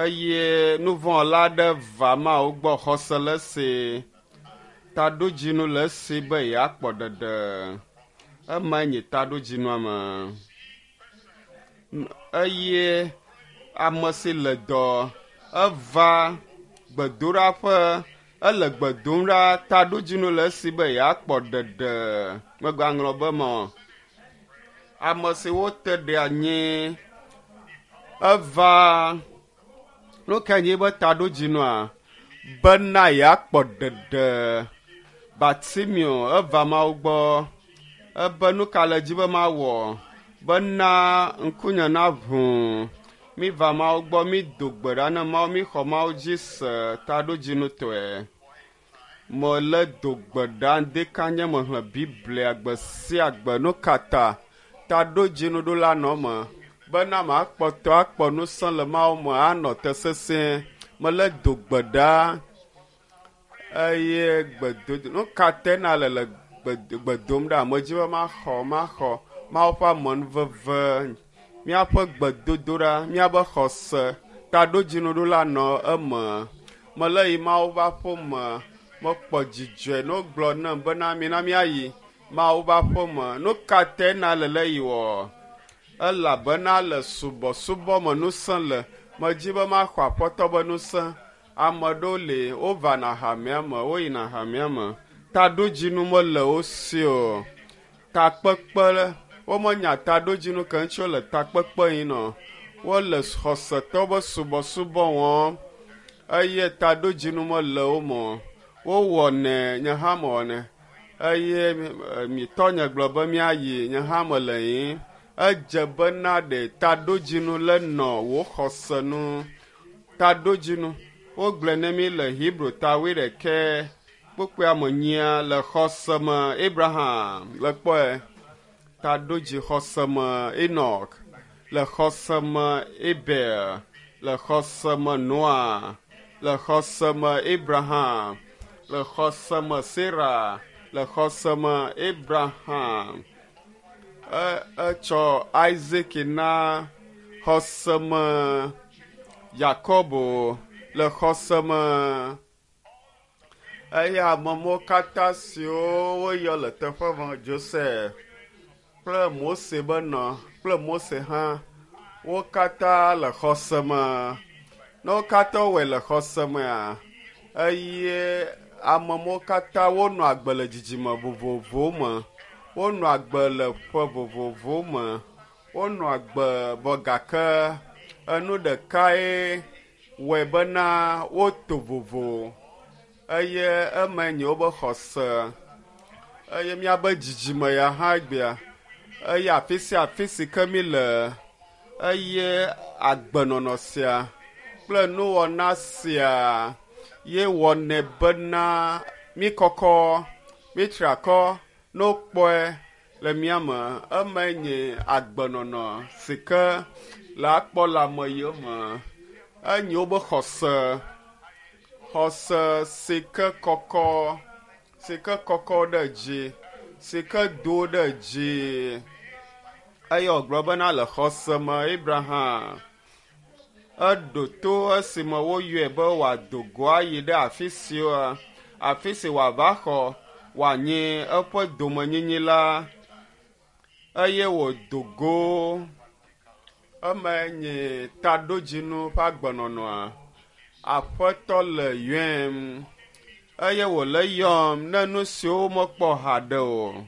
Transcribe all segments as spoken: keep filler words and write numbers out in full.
Eye nuvɔ̃la aɖe va Mawu gbɔ xɔse le esi, taɖodzinu le esi be yeakpɔ ɖeɖe. Emae nye taɖodzinua me. Eye ame si le dɔ eva gbedoɖaƒe ele gbe dom ɖa taɖodzinu le esi be yeakpɔ ɖeɖe. Megaŋlɔ be me o. Ame si wote ɖe anyi eva nu kae nye be taɖodzinua? Bena yeakpɔ ɖeɖe. Bartimeo eva Mawu gbɔ ebe nu ka le dzi be mawɔ bena ŋkunye naʋu. Miva Mawu gbɔ, mido gbe ɖa ne Mawu, mixɔ Mawu dzi se taɖodzinutɔe. Mele do gbe ɖa ŋdekanye mexlẽ Biblia gbe sia gbe. Nu ka ta taɖodzinuɖola nɔ eme bena makpɔtɔ akpɔ ŋusẽ le Mawu me anɔ te sesĩe. Mele do gbe ɖa eye gbedodo nu ka te na le le gbe dom ɖa? Medzi be maxɔ maxɔ Mawu ƒe amenuveve, míaƒe gbedodoɖa, míaƒe xɔse taɖodzinuɖola nɔ eme. Mele yi Mawu ƒe aƒe me mekpɔ dzidzɔe ne wogblɔ nam bena mina míayi Mawu ƒe aƒe me. Nu ka te na le le yi wɔ? Elabena le subɔsubɔ me ŋusẽ le. Medzi be maxɔ Aƒetɔ be ŋusẽ. Ame aɖewo li wovana hamea me, woyina hamea me. Taɖodzinu mele wo si o. Takpekpe womenya taɖodzinu ke ŋuti wole takpekpe yi nɔ. Wole xɔsetɔwo be subɔsubɔ wɔm eye taɖodzinu mele wo me o. Wowɔnɛ, nye hã mewɔnɛ eye mi tɔnye gblɔ be míayi, nye hã mele yiyim. Edze bena ɖe taɖodzinu le nɔ wò xɔse nu. Taɖodzinu wogblɔe ne mí le Hebrew ta wuiɖekɛ kpukpuia me nyia le xɔse me Abraham le kpɔe taɖodzi xɔse me Enoch le xɔse me Abel le xɔse me Noa le xɔse me Abraham le xɔse me Sarah le xɔse me Abraham e etsɔ Isaac na xɔse me Yakobo le xɔse me eye amewo katã siwo woyɔ le teƒe ma Joseph kple Mose be nɔ kple Mose hã wo katã le xɔse me. Ne wo katã wɔe le xɔse mea eye amewo katã wonɔ agbe le dzidzime vovovowo me. Wonɔ agbe le ƒe vovovowo me. Wonɔ agbe vɔ gake enu ɖekae wɔe bena woto vovo eye emae nye wobe xɔse eye míabe dzidzime ya hã egbea eye afi sia afi si ke mí le eye agbenɔnɔ sia kple nuwɔna sia ye wɔnɛ bena mí kɔkɔ, mí tri akɔ ne wokpɔe le mía me. Emae nye agbenɔnɔ si ke le akpɔ le ame yiwo me. Enye wobe xɔse, xɔse si ke kɔkɔ, si ke kɔkɔ ɖe dzi, si ke do ɖe dzi. Eye wògblɔ bena le xɔse me Abraham eɖo to esime woyɔe be wòado go ayi ɖe afi si afi si wòava xɔ wòanyi eƒe domenyinyi la eye wòdo go. Emae nye taɖodzinu ƒe agbenɔnɔa. Aƒetɔ le yɔem eye wòle yɔm ne nu siwo womekpɔ haɖe o.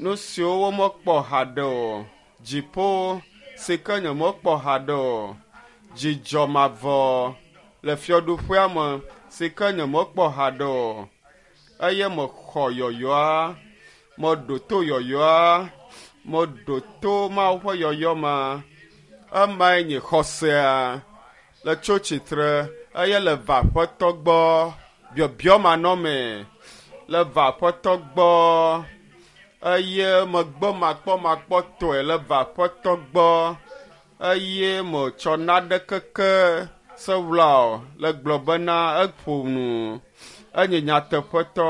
Nu siwo womekpɔ haɖe o. Dziƒo si ke nyemekpɔ haɖe o. Dzidzɔ mavɔ le fiaɖuƒea me si ke nyemekpɔ haɖe o. Eye mexɔ yɔyɔa, meɖo to yɔyɔa, meɖo to Mawu ƒe yɔyɔ ma. Emae nye xɔsea le tso tsitre eye le va Aƒetɔ gbɔ biɔbiɔ manɔmee le va Aƒetɔ gbɔ eye megbe makpɔmakpɔtɔe le va Aƒetɔ gbɔ eye metsɔ naɖe keke sewla o le gblɔ bena eƒo nu enye nyateƒetɔ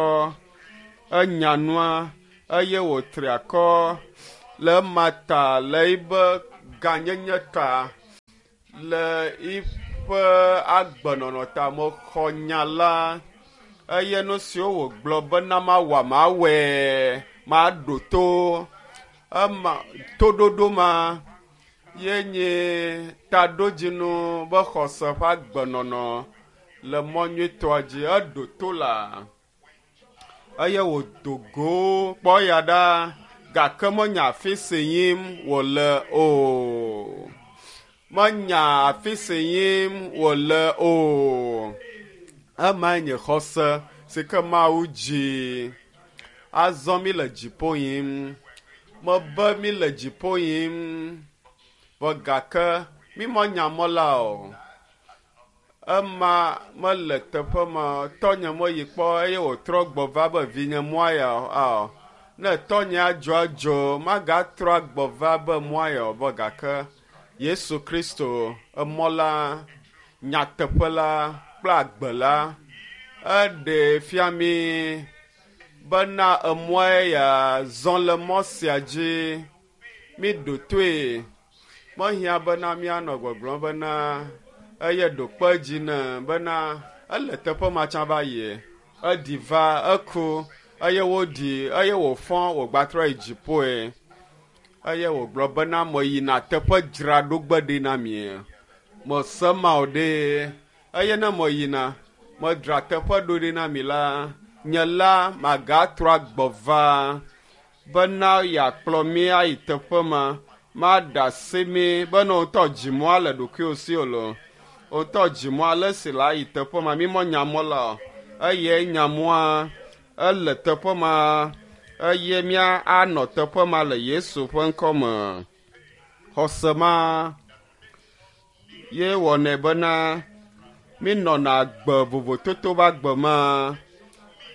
enya nua eye wòtri akɔ le ema ta le yibe gãnyenye ta Le iƒe agbenɔnɔ ta mexɔ nya la eye nu siwo wògblɔ bena mawɔ mawɔe maɖo to ema toɖoɖo ma ye nye taɖodzinu be xɔse ƒe agbenɔnɔ le mɔ nyuitɔa dzi. Eɖo to la eye wòdo go kpɔ ya ɖa gake menya afi si yim wòle o. Menya afi si yim wòle o. Emae nye xɔse si ke Mawu dzi. Azɔ mi le dziƒo yim. Mebe mi le dziƒo yim. Vɔ gake mi menya mɔ la o. Ema mele teƒe ma. Tɔnye meyi kpɔ eye wòtrɔ gbɔ va be vinye mɔa ya o. Ne tɔnye adzɔ adzo, magatrɔ agbɔ va be mɔa ya o. Vɔ gake Yesu Kristo, emɔ la, nyateƒe la kple agbe la, eɖee fia mi bena emɔe ya zɔ le mɔ sia dzi. Mi ɖo toe. Mehiã bena míanɔ gbɔgblɔm bena eye ɖo kpe dzi ne bena ele teƒe ma tsã va yie. Eɖi va, eku eye woɖi eye wòfɔ wògbatrɔ yi dziƒoe. Eye wògblɔ bena meyina teƒe dzraɖogbe ɖi na mi. Mese ma o ɖe. Eye ne meyina, medzra teƒe ɖo ɖi na mi la, nye la magatrɔ agbɔ va bena yeakplɔ mi ayi teƒe ma. Maɖe asi mi bena wò ŋutɔ dzimɔa le ɖokuiwò si o loo. Wò ŋutɔ dzimɔa le si le ayi teƒe ma. Mi menya mɔ la o. Eye nya mɔa ele teƒe ma eye mía anɔ teƒe ma le Yesu ƒe ŋkɔ me. Xɔse ma ye wɔnɛ bena mi nɔna agbe vovototo ƒe agbe ma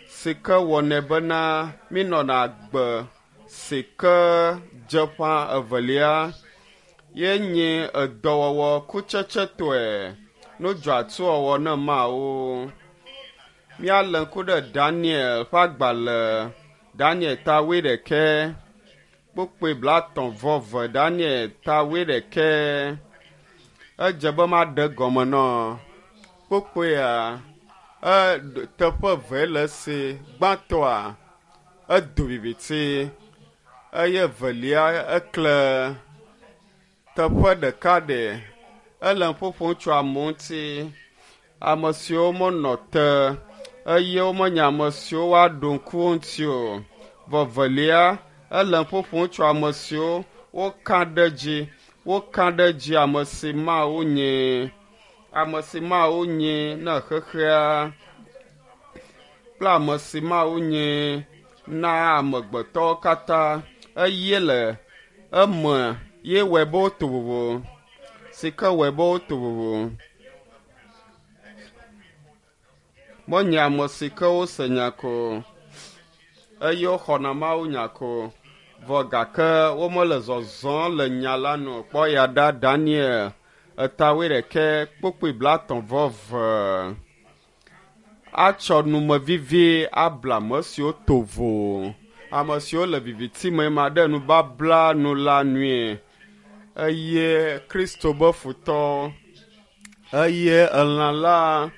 si ke wɔnɛ bena mi nɔna agbe si ke dze ƒã evelia ye nye edɔwɔwɔ kutsetsetɔe nudzɔatsuwɔwɔ ne Mawu. Míalé ŋku ɖe Daniel ƒe agbalẽ, Daniel ta wuiɖekɛ, kpukpui blaetɔ̃ vɔ eve, Daniel ta wuiɖekɛ. Edze be maɖe gɔme nɔ kpukpuia. E, teƒe eve le esi. Gbãtɔa, edo viviti eye evelia ekle. Teƒe ɖeka ɖe ele nu ƒoƒom tso amewo ŋuti. Ame siwo menɔ te eye womenya ame siwo woaɖo ŋku wo ŋuti o. Vɔ evelia, ele nu ƒoƒom tso ame siwo woka ɖe dzi, woka ɖe dzi ame si Mawu nye, ame si Mawu nye ne xexea kple ame si Mawu nye na amegbetɔwo katã eye le eme ye wɔe be woto vovo, si ke wɔe be woto vovo. Menye ame si ke wose nya ko eye woxɔna Mawu nya ko, vɔ gake womele zɔzɔm le nya la nu o. Kpɔ ya ɖa Daniel eta wuiɖekɛ kpukpui blaetɔ̃ vɔ eve. Atsɔ numevivi abla ame siwo to vo, ame siwo le viviti me ma ɖe nubabla nu la nue. Eye Kristo be futɔ, eye elã la,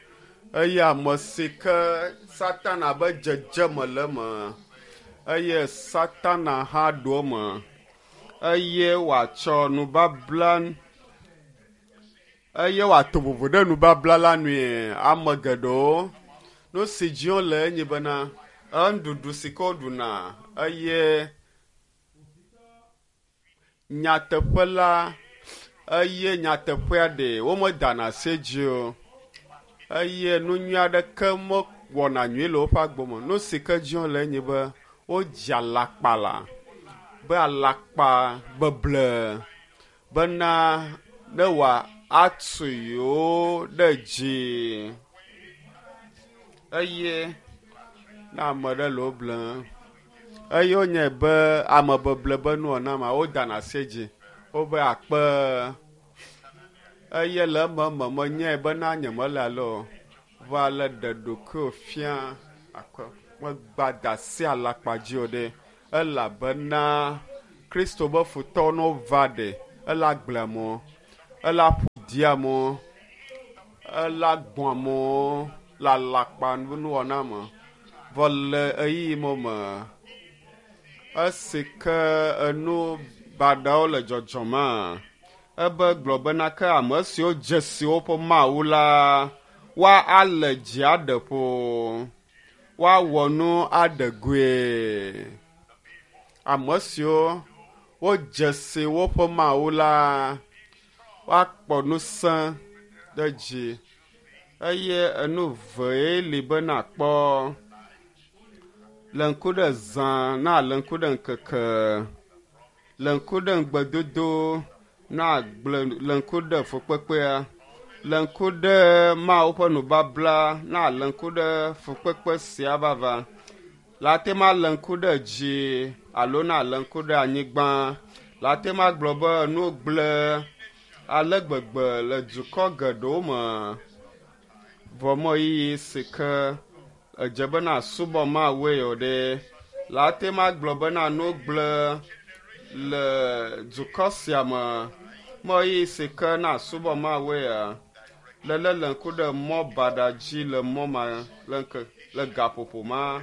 eye ame si ke Satana be dzedzeme le eme, eye Satana hã ɖo eme, eye wòatsɔ nubabla, eye wòato vovo ɖe nubabla la nue. Ame geɖewo, nu si dzi wole enye bena enuɖuɖu si ke woɖuna eye nyateƒe la, eye nyateƒea ɖe womedana asi dzi o. Eye nu nyui aɖeke mewɔna nyui le woƒe agbe me. Nu si ke dzi wole enye be wodzi alakpa la, be alakpa beble bena ne wòatu yewo ɖe dzi. Eye ne ame ɖe le wo blem, eye wonyae be ame beble be nuwɔna ma wodana asi dzi. Wobe akpe eye le eme me menyae bena nyemele ale o. Va le ɖe ɖokuiwò fia akpe megba da asi alakpa dzi o ɖe. Elabena Kristo be futɔwo ne wova ɖe, ele agblea me, ele aƒu didi amewo ela gbɔn amewo le alakpa nuwɔna me vɔ le ɣeyiɣi me me esi ke enu baɖawo le dzɔdzɔmea ebe gblɔ bena ke ame siwo dze si woƒe Mawu la woa ale dzi aɖe ƒo woawɔ nu aɖe goe. Ame siwo wodze si woƒe Mawu la woakpɔ ŋusẽ ɖe dzi eye enu vee li be nakpɔ le ŋku ɖe zã na le ŋku ɖe ŋkeke le ŋku ɖe ŋgbedodo na gblẽ le ŋku ɖe fukpekpea le ŋku ɖe Mawu ƒe nubabla na le ŋku ɖe fukpekpe sia vava la te ma le ŋku ɖe dzi alo na le ŋku ɖe anyigba la te ma gblɔ be nu gblẽ ale gbegbe le dukɔ geɖewo me vɔ mɔ yiyi si ke edze bena subɔ Mawue o ɖe la te ma gblɔ bena nu gblẽ le dukɔ sia me mɔ yiyi si ke na subɔ Mawue ya lele le ŋku ɖe mɔ baɖa dzi le mɔ ma le ŋke le gaƒoƒo ma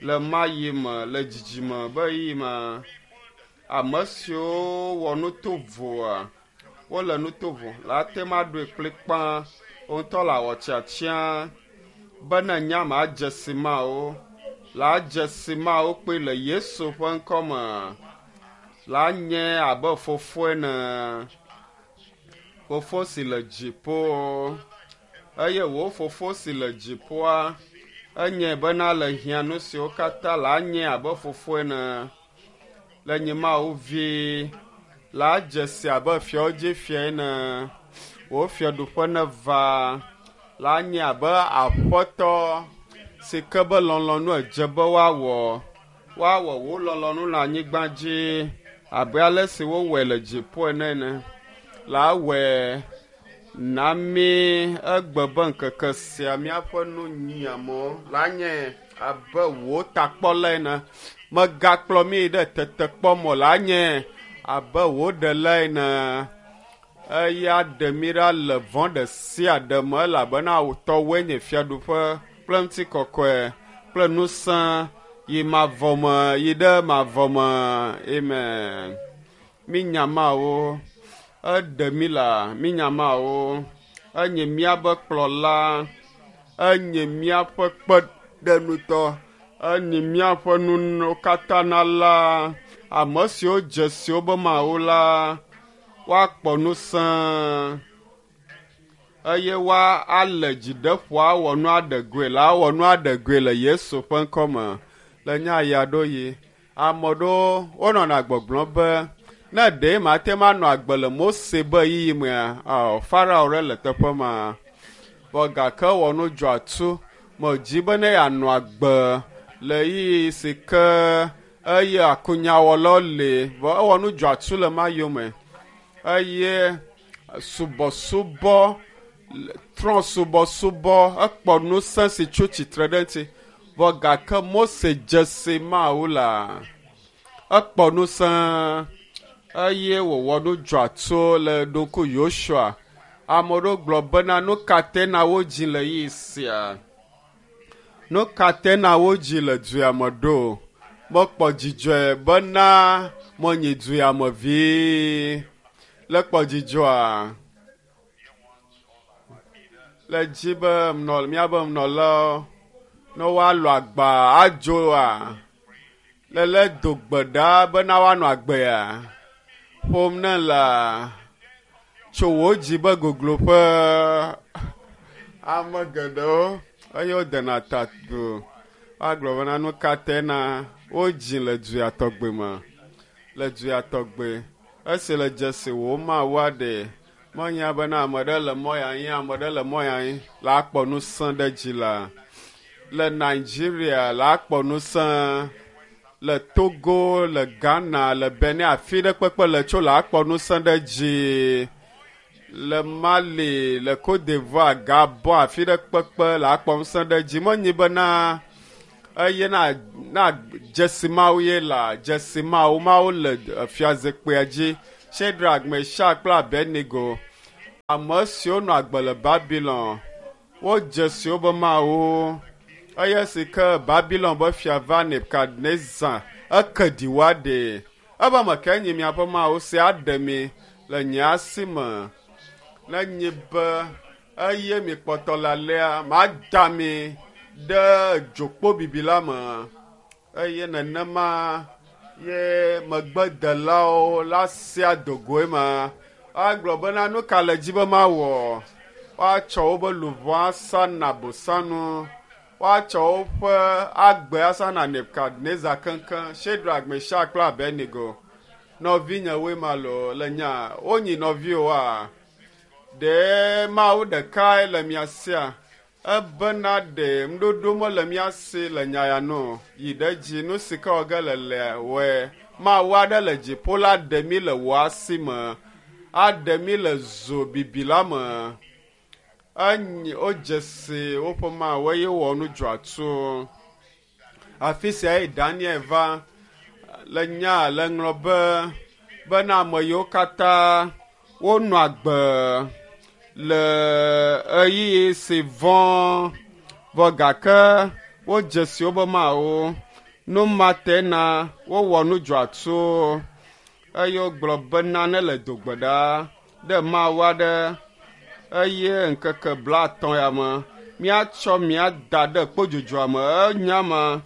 le ma yi me le dzidzime be yi ma ame siwo wɔ nu tovoa wole nu tovo la te ma ɖoe kplikpaa wo ŋutɔ le awɔ tiatia be ne nya ma dze si mawo la dze si mawo kpe le Yesu ƒe ŋkɔ me la nye abe fofo ene fofo si le dziƒo eye wo fofo si le dziƒoa enye bena le hiã nu siwo katã la nye abe fofo ene le nye Mawu vi la dze si abe fiawo dzi fia ene wo fiaɖuƒe neva la nye abe aƒetɔ si ke be lɔlɔ̃nu edze be woawɔ woawɔ wo lɔlɔ̃nu le anyigba dzi abe ale si wowɔe le dziƒo ene ene la wɔe na mí egbe be ŋkeke sia míaƒe nu nyiamewo la nye abe wò takpɔla ene megakplɔ mí ɖe tetekpɔ me o la nye abe wò ɖela ene eya ɖe mí ɖa le vɔ̃ ɖe sia ɖe me elabena tɔwoe nye fiaɖuƒe kple ŋutikɔkɔe kple ŋusẽ yi mavɔ me yi ɖe mavɔ me amen. Mínya Mawu eɖe mí la mínya Mawu enye míaƒe kplɔla enye míaƒe kpeɖeŋutɔ enye míaƒe nuwo katã nala ame siwo dze si wobe Mawu la woakpɔ ŋusẽ eye woa ale dzi ɖe ƒo awɔ nu aɖe goe la awɔ nu aɖe goe le Yesu ƒe ŋkɔ me le nya ya ɖo yi ame ɖewo wonɔna gbɔgblɔm be ne ɖe mate ma nɔ agbe le Mose be ɣeyiɣi mea ɔ Farao ɖe le teƒe ma vɔ gake wɔ nu dzɔ atu medzi be ne yeanɔ agbe le ɣeyiɣi si ke eye akunyawɔlawo le vɔ ewɔ nu dzɔ atu le ma yome eye subɔsubɔ trɔ̃subɔsubɔ ekpɔ ŋusẽ si tso tsitre ɖe ŋuti vɔ gake Mose dze si Mawu la ekpɔ ŋusẽ eye wòwɔ nu dzɔ atu le ɖoku Yosua ame ɖewo gblɔ bena nu ka te na wodzi le ɣeyiɣi sia nu ka te na wodzi le dua me ɖo mekpɔ dzidzɔe bena menyi dua me vi le kpɔ dzidzɔa le dzi be nɔ míabe nɔlawo ne woalɔ agba adzoa lele do gbe ɖa bena woanɔ agbea ƒom ne la tso wò dzi be gogloƒe ame geɖewo eye wodena ta do woagblɔ bena nu ka te na wodzi le dua tɔgbe me le dua tɔgbe esi le dzesi wò Mawu aɖe menya bena ame ɖe le mɔ ya ŋu ame ɖe le mɔ ya ŋu la kpɔ ŋusẽ ɖe dzi la le Nigeria la kpɔ ŋusẽ le Togo le Ghana le Benin afi ɖe kpekpe le tso la kpɔ ŋusẽ ɖe dzi le Mali le Côte d'Ivoire Gabon afi ɖe kpekpe la kpɔ ŋusẽ ɖe dzi menyi bena eye na na dzesi Mawu ye la dzesi Mawu Mawu le fiazikpuia dzi Shadrach, Meshach kple Abednego Ame siwo nɔ agbe le Babilon, wodze si wobe mawu eye si ke Babilon be fia va Nebukadnezar eke ɖi woaɖe. Ebe ame kae nye miaƒe mawu si aɖe mi le nye asi me? Ne nye be eye mi kpɔtɔ le alea, mada mi ɖe dzokpo bibi la me. Eye nenema ye megbedelawo la sia dogoe ma. Agblɔ bena nu ka le dzi be mawɔ? Woatsɔ wobe luʋɔ asa na bosanu. Woatsɔ woƒe agbe asa na Nebukadnezar keŋkeŋ, Shadrach, Meshach kple Abednego. Nɔvinyewoe ma loo le nya wonyi nɔviwoa? Ɖe Mawu ɖekae le mia sia? Ebena ɖe nuɖoɖo mele mía si le nya ya nu o. Yi ɖe dzi nu si ke wɔ ge le lea wɔe. Mawu aɖe le dziƒo la ɖe mí le wò asi me. Aɖe mí le zo bibi la me. Enyi wodze si woƒe Mawu eye wowɔ nu dzɔatsu. Afi sia ye Daniel va le nya le ŋlɔ be bena ame yiwo katã wonɔ agbe le ɣeyiɣi si vɔ̃ vɔ gake wodze si wobe Mawu. Nu ma te na wowɔ nu dzɔatsu eye wogblɔ bena ne le dogbe ɖa ɖe Mawu aɖe eye ŋkeke blaetɔ̃ ya me míatsɔ mía da ɖe kpodzodzroa me. Enya ma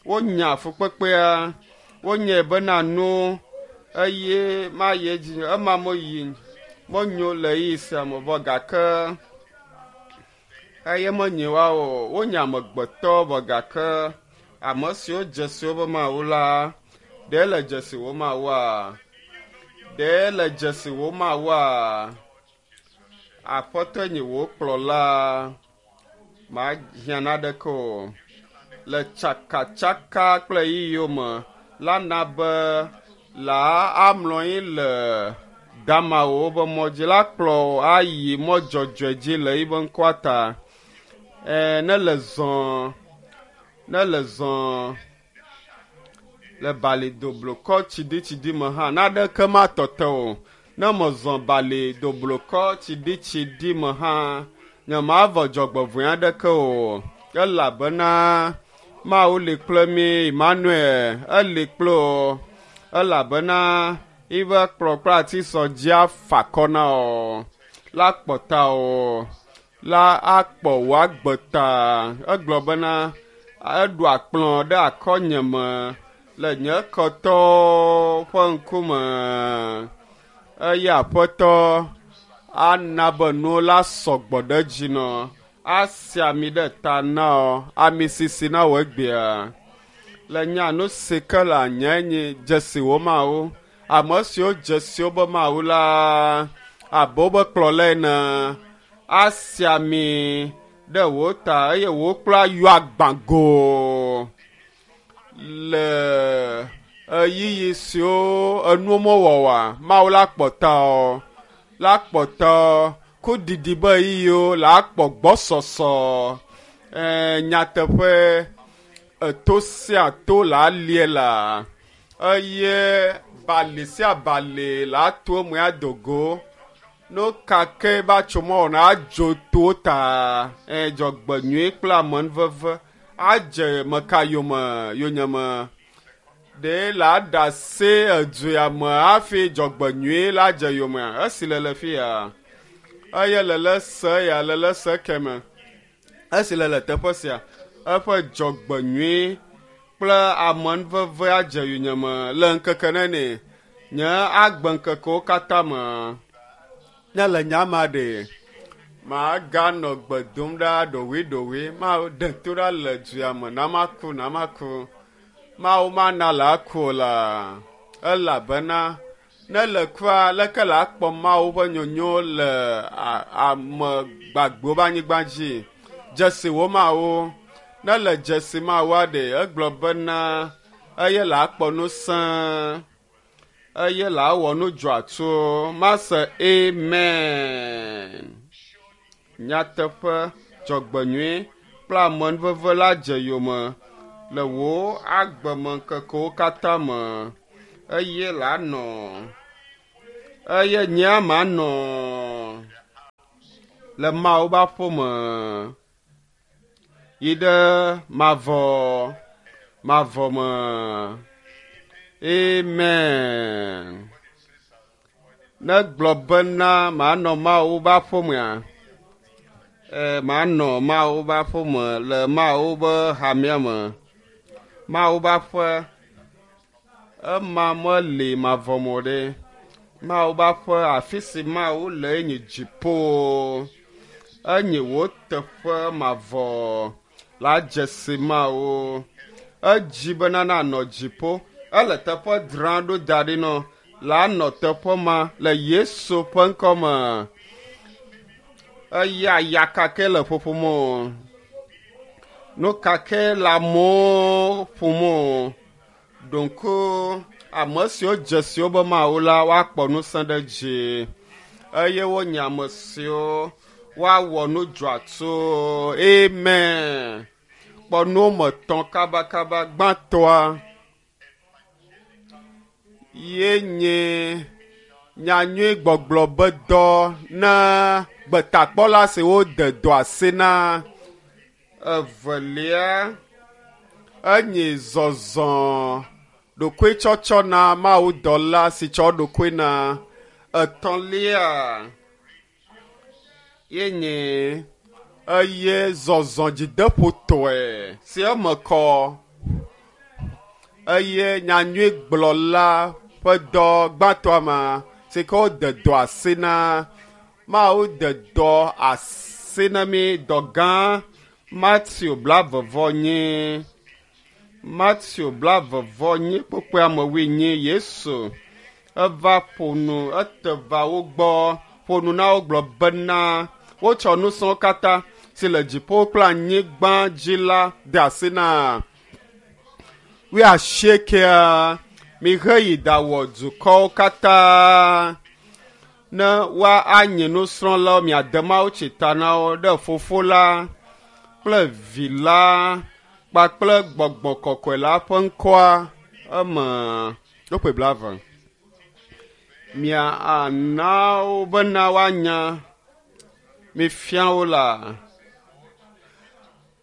wonya fukpekpea wonyae bena nu eye mayi edzi ema meyi menyo le ɣeyiɣi sia me vɔ gake eye menyi woawo o. Wonye amegbetɔ vɔ gake ame siwo dze si wobe Mawu la, ɖe le dzesi wo Mawua? Ɖe le dzesi wo Mawua? Aƒetɔe nye wò kplɔla, mahiã naneke o. Le tsakatsaka kple ɣeyiɣiwo me la na be la amlɔ anyi le damawo be mɔ dzi la kplɔ wò ayi mɔ dzɔdzɔe dzi le yiƒe ŋkɔa ta. E, ne le zɔ, ne le zɔ le bali doblukɔ tsiɖitsiɖi me hã, naneke matɔte o. Ne mezɔ bali doblukɔ tsiɖitsiɖi me hã, nyemavɔ dzɔgbevɔ̃e aɖeke o. Elabena Mawu li kple mí, Emmanuel, eli kple wò. Elabena yiƒe kplɔ kple atisɔ dzi afa akɔ na wò, la kpɔ ta wò, la akpɔ wò agbe ta. Egblɔ bena eɖo akplɔ ɖe akɔnye me le nye ketɔwo ƒe ŋkume eye Aƒetɔ ana be nuwo la sɔgbɔ ɖe dzi nɔ. Asi ami ɖe ta na wò, ami sisi na wò egbea. Le nya nu si ke le anya nye dzesi wo Mawu. Ame siwo dze si wobe Mawu la, abe wobe kplɔla ene, asi ami ɖe wò ta eye wò kplɔ ayɔ agbã go le ɣeyiɣi siwo enuwo mewɔ oa, Mawu la kpɔ ta wò, la kpɔ ta wò. Ku didi be ɣeyiɣiwo la akpɔ gbɔsɔsɔ. E, nyateƒe eto sia to la alie la eye bali sia bali la ato eme ado go. Nu ka ke va tso mɔ wɔna adzo to ta. E, dzɔgbenyui kple amenuveve adze meka yome yonyeme. Ɖe la ɖe asi edu ya me hafi dzɔgbenyui la dze yome. Esi le le fi ya eye le le se ya le le se keme. Esi le le teƒe sia eƒe dzɔgbenyui kple amenuveve adze yonyeme le ŋkeke nene nye agbe ŋkekewo katã me. Ne le nya ma ɖe, maganɔ gbe dom ɖa ɖoɖoeɖoɖoe, maɖe to ɖa le dua me na maku na maku. Mawu mana la aku o la, elabena ne le kua leke la akpɔ Mawu ƒe nyonyo le ame gbagbewo ƒe anyigba dzi. Dzesi wo Mawu. Ne le dzesi Mawua ɖe, egblɔ bena eye la akpɔ ŋusẽ, eye la awɔ nu dzɔatsu. Mase amen. Nyateƒe dzɔgbenyui kple amenuveve la dze yome le wò agbemeŋkekewo katã me eye la nɔ eye nyea manɔ. Le Mawu ƒe aƒeme yi ɖe mavɔ mavɔ me. Amen. Ne gblɔ bena manɔ Mawu ƒe aƒemea, e, manɔ Mawu ƒe aƒeme le Mawu ƒe hamea me. Mawu ƒe aƒe ema meli mavɔ me o ɖe. Mawu ƒe aƒe afi si Mawu le enye dziƒo. Enye wò teƒe mavɔ la dze si Mawu. Edzi bena nanɔ dziƒo. Ele teƒe dzram ɖo da ɖi nɔ la nɔ teƒe ma le Yesu ƒe ŋkɔ me. Eya ya kake le ƒoƒom o. Nu kake le amewo ƒom o. Ɖonko ame siwo dze si wobe Mawu la woakpɔ ŋusẽ ɖe dzi eye wonye ame siwo woawɔ nu dzɔatso. Amen. Kpɔ nu me tɔ̃ kabakaba. Gbãtɔa ye nye nyanyui gbɔgblɔ be dɔ na gbetakpɔla siwo de dɔ asi na. Evelia enye zɔzɔ ɖokuitsɔtsɔ na mawudɔla si tsɔ ɖokui na. Etɔ̃lia ye nye eye zɔzɔ dzideƒotɔe si eme kɔ eye nyanyui gblɔla ƒe dɔ gbãtɔa ma si ke wode dɔ asi na. Mawu de dɔ asi na mi dɔ gã. Matthew blavevɔ nyi Matthew blavevɔ nyi kpukpui ame wuienyi Yesu eva ƒo nu ete va wo gbɔ ƒo nu na wo gblɔ bena wotsɔ ŋusẽwo katã si le dziƒo kple anyigba dzi la de asi na. Wuiasiekea miheyi ɖawɔ dukɔwo katã ne woanye nusrɔ̃lawo miade mawutsi ta na wo ɖe Fofo la kple Vi la kpakple Gbɔgbɔ Kɔkɔe la ƒe ŋkɔa eme. Ɖokpe blave. Mia ana wo bena woanya mifia wo la.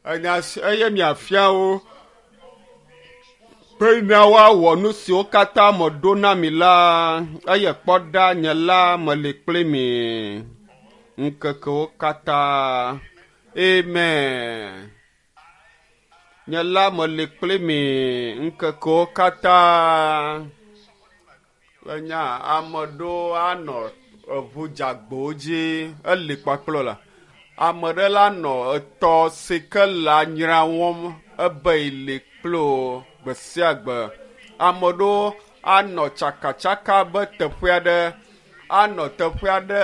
Enya si eye miafia wo bena woawɔ nu siwo katã meɖo na mi la eye kpɔ ɖa nye la meli kpli mi ŋkekewo katã. Amen. Nye la meli kpli mi ŋkekewo katã. Enya ame ɖewo anɔ eʋu dzagbowo dzi eli kpakple la. Ame ɖe la nɔ etɔ si ke le anyra wɔm ebe yeli kple wo gbe sia gbe. Ame ɖewo anɔ tsakatsaka be teƒe aɖe anɔ teƒe aɖe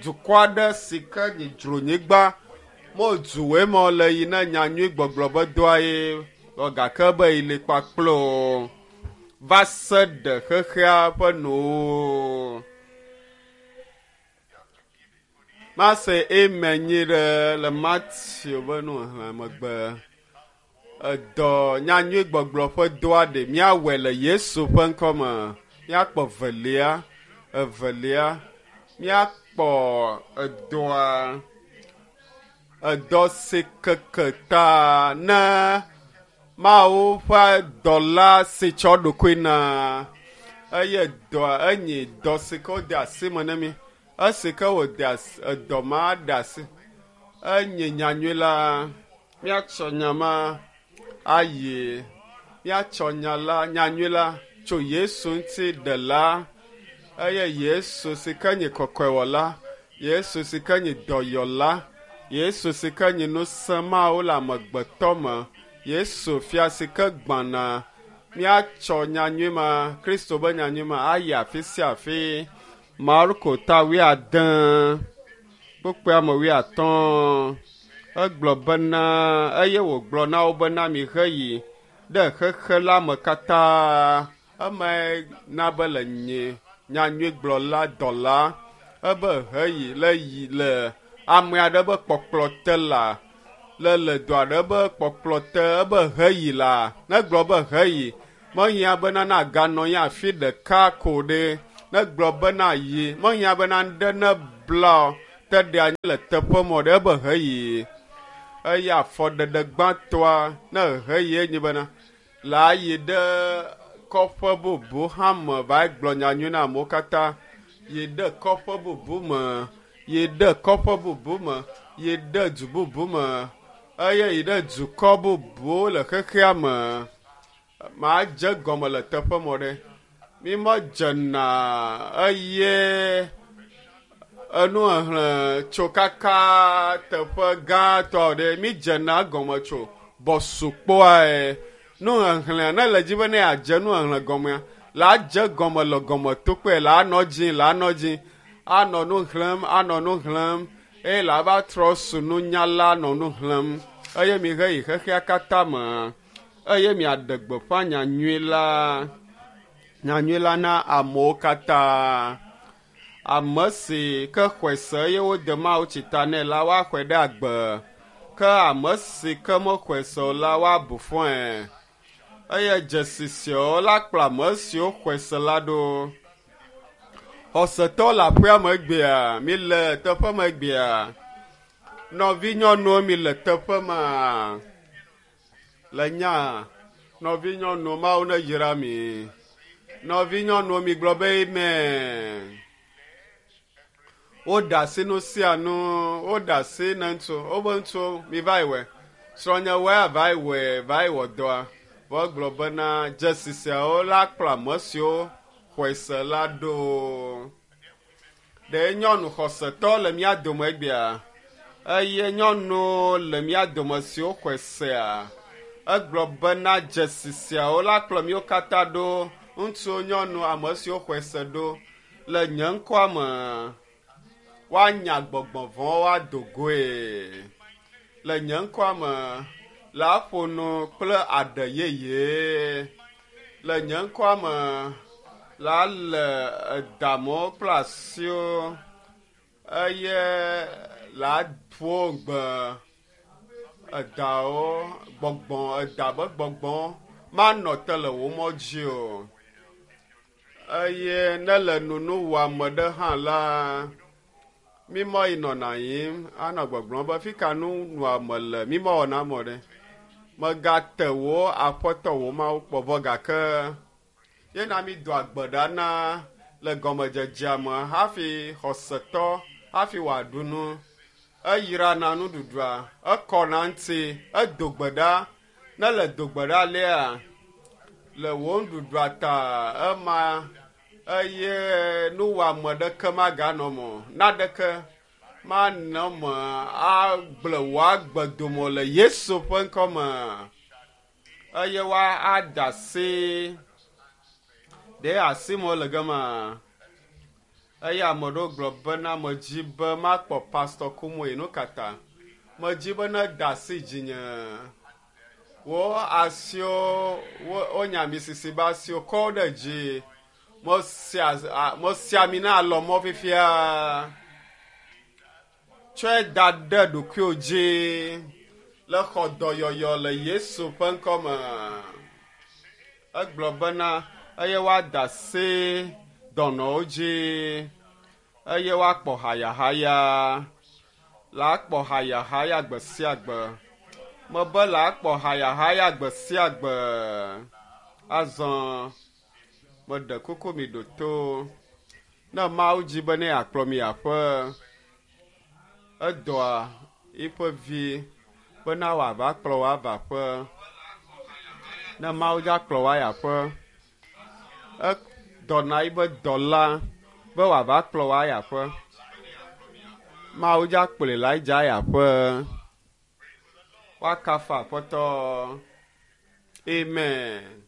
dukɔ aɖe si ke nye dzronyigba mo duwoe ma le yi na nyanyui gbɔgblɔ be dɔa ye gake be yeli kpakple wo va se ɖe xexea ƒe nuwo. Mase amen nyi ɖe le Matthew ƒe nuxexlẽ megbe. Edɔ nyanyui gbɔgblɔ ƒe dɔa ɖe míawɔe le Yesu ƒe ŋkɔ me. Míakpɔ velia, evelia, míakpɔ edɔa, edɔ si keke ta na Mawu ƒe dɔla si tsɔ ɖokui na eye dɔa enye dɔ si ke wode asi me na mi. Esi ke wòde asi edɔ ma ɖe asi enye nyanyui la míatsɔ nya ma ayi míatsɔ nya la nyanyui la tso Yesu ŋuti ɖela eye Yesu si ke nye kɔkɔewɔla, Yesu si ke nye dɔyɔla, Yesu si ke nye ŋusẽ Mawu le amegbetɔ me, Yesu fia si ke gbãna. Míatsɔ nyanyui ma, Kristo ƒe nyanyui ma ayi afi sia afi. Marko ta wuiade kpukpui ame wuiatɔ̃. Egblɔ bena eye wògblɔ na wo bena miheyi ɖe xexe la me katã. Emae na be le nye nyanyuigblɔla dɔla ebe heyi le yi le ame aɖe be kpɔkplɔ te la le le dɔ aɖe be kpɔkplɔ te ebe heyi la negblɔ be heyi mehiã bena naganɔ anyi afi ɖeka ko ɖe negblɔ bena yi mehiã bena ŋɖe ne bla o te ɖe anyi le teƒe mɔ ɖe ebe heyi. Eye afɔɖeɖe gbãtɔa ne heyi nye bena la yi ɖe kɔƒe bubu hã me va gblɔ nyanyui na amewo katã. Yi ɖe kɔƒe bubu me, yi ɖe kɔƒe bubu me, yi ɖe du bubu me, eye yi ɖe dukɔ bubuwo le xexea me. Madze gɔme le teƒe mɔ ɖe. Mi medzena eye enu exlẽ tso kaka teƒe gãtɔ ɖe. Mi dzena gɔme tso bɔsukpoae. Nu exlẽa ne le dzi be ne yeadze nu exlẽ gɔmea, la dze gɔme le gɔmetokpoe, la nɔ dzi, la nɔ dzi, anɔ nu xlẽm, anɔ nu xlẽm, eye la va trɔ su nunyala nɔ nu xlẽm. Eye mi he yi xexea katã me, eye miaɖe gbeƒã nyanyui la, nyanyui la na amewo katã. Ame si ke xɔe se eye wode Mawu tsi ta nɛ la, woaxɔe ɖe agbe. Ke ame si ke mexɔe se o la, woabu fɔe. Eye dzesi siawo la kplɔ ame siwo xɔe se la ɖo. Xɔsetɔwo le aƒea me egbea, mi le teƒe me egbea. Nɔvinyɔnuwo mi le teƒe ma. Le nya, nɔvinyɔnuwo, Mawu ne yra mi. Nɔvinyɔnuwo mi gblɔ be amen. Woɖe asi nu sia nu, woɖe asi ne ŋutsu, wobe ŋutsuwo mi va yi wɔe. Srɔ̃nye wɔe va yi wɔe, va yi wɔ dɔa. Vɔ gblɔ bena dzesi siawo la kplɔ ame siwo xɔe se la ɖo. Ɖe nyɔnu xɔsetɔ le mía dome egbea? Eye nyɔnu le mía dome siwo xɔe sea? Egblɔ bena dzesi siawo la kplɔ míwo katã ɖo, ŋutsuwo, nyɔnu, ame siwo xɔe se ɖo le nye ŋkɔa me. Woanya gbɔgbɔ vɔ̃wo ado goe. Le nye ŋkɔa me, la ƒo nu kple aɖe yeye. Le nye ŋkɔa me, la le edamewo kple asiwo eye la ƒo gbe edawo gbɔgbɔ eda be gbɔgbɔ manɔ te le wò mɔ dzi o. Eye ne le nunu wɔame ɖe hã la, mi mɔ yi nɔna yim anɔ gbɔgblɔm be fi ka nu wɔame le, mi mɔ wɔna mɔ ɖe. Megate wò aƒetɔ wò Mawu kpɔ vɔ gake yena mi do agbe ɖa na le gɔmedzedzea me hafi xɔsetɔ hafi wòaɖu nu. Eyrana nuɖuɖua, ekɔna ŋuti, edo gbe ɖa. Ne le do gbe ɖa alea, le wò nuɖuɖua ta ema eye nuwɔame ɖeke maganɔ me o. Naɖeke manɔ me agblẽ wò agbe dome le Yesu ƒe ŋkɔ me. Eye woa ada asi ɖe asi me le gema. Eye ame ɖewo gblɔ bena medzi be makpɔ Pastor Kumuyi. Nu ka ta? Medzi be ne da asi dzinye. Wo asiwo, wonya ami sisi be asiwo kɔ wo ɖe dzi. Mesia ami na alɔmɔ fifia. Tsɔe da ɖe ɖokuiwò dzi le xɔ dɔyɔyɔ le Yesu ƒe ŋkɔ me. Egblɔ bena eye woada asi dɔnɔwo dzi eye woakpɔ hayahaya. La kpɔ hayahaya gbe sia gbe. Mebe la kpɔ hayahaya gbe sia gbe. Azɔ meɖe kuku mi ɖo to. Ne Mawu dzi be ne yeakplɔ mi aƒe, edɔa eƒe vi bena wòava kplɔ wò ava aƒe. Ne Mawu dza kplɔ wò ayi aƒe, edɔna eƒe dɔla be wòava kplɔ wò ayi aƒe. Mawu dza kplɔe Elija ayi aƒe. Woakafu Aƒetɔ. Amen.